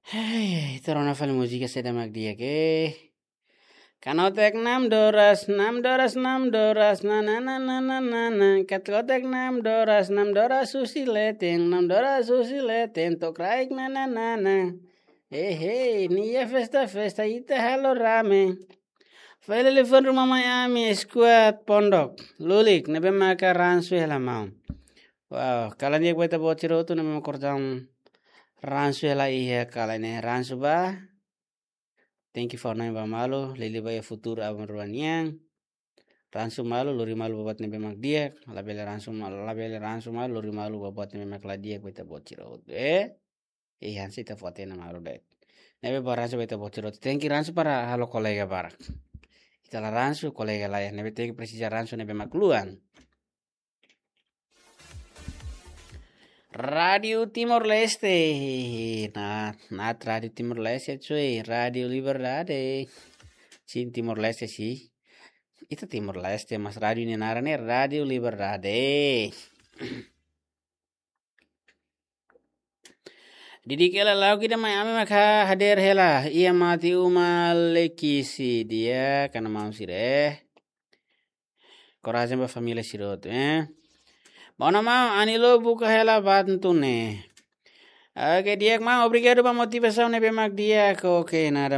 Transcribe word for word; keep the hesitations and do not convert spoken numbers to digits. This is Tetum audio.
Hei, ita rona fali múzika saida mak di'ak, eh. Kanotek nam doras, nam doras, nam doras, na na na na na na na. Kanotek nam doras, nam doras husi leten, nam doras husi leten, to'o kraik na na na na. Hei, hei, nia festa, festa, ita halo rame. Fali liafuan ruma mai ami, skuad Pondok Lulik, ne'ebé maka ransu hela maun. Wow, kalan di'ak ba ita-boot sira hotu ne'ebé maka kordang ransu hela iha kalan ne'e, ransu ba. Tenke fó-hanoin ba malu, liuliu ba iha futuru aban-rua nian. Ransu malu, lori malu ba buat ne'ebé mak di'ak, labele ransu malu, labele ransu malu, lori malu ba buat ne'ebé mak la di'ak ba ita-boot sira hotu, eh? Eh, hanesan ita fó hatene malu de'it. Ne'ebé ba ransu ba ita-boot sira hotu, tenke ransu para halo kolega barak. Ita la ransu, kolega la iha, ne'ebé tenke presiza ransu ne'ebé mak luan. Rádio Timor-Leste. Naat, naat Rádio Timor-Leste, cuy. Rádio Liberdade. Sin, Timor-Leste, sin. Ita Timor-Leste, mas rádio nia naran ne'e Rádio Liberdade. Didik hela lauk ida mai ami maka hadeer hela. Iha mate uma lekisi di'ak, kanan maun sira, eh. Korajen ba família sira hotu, eh. Maun, maun, Anilo buka hela bantu ne'e. Oke, di'ak maun, obrigadu ba motivasaun ne'ebé mak di'ak. Oke, naat.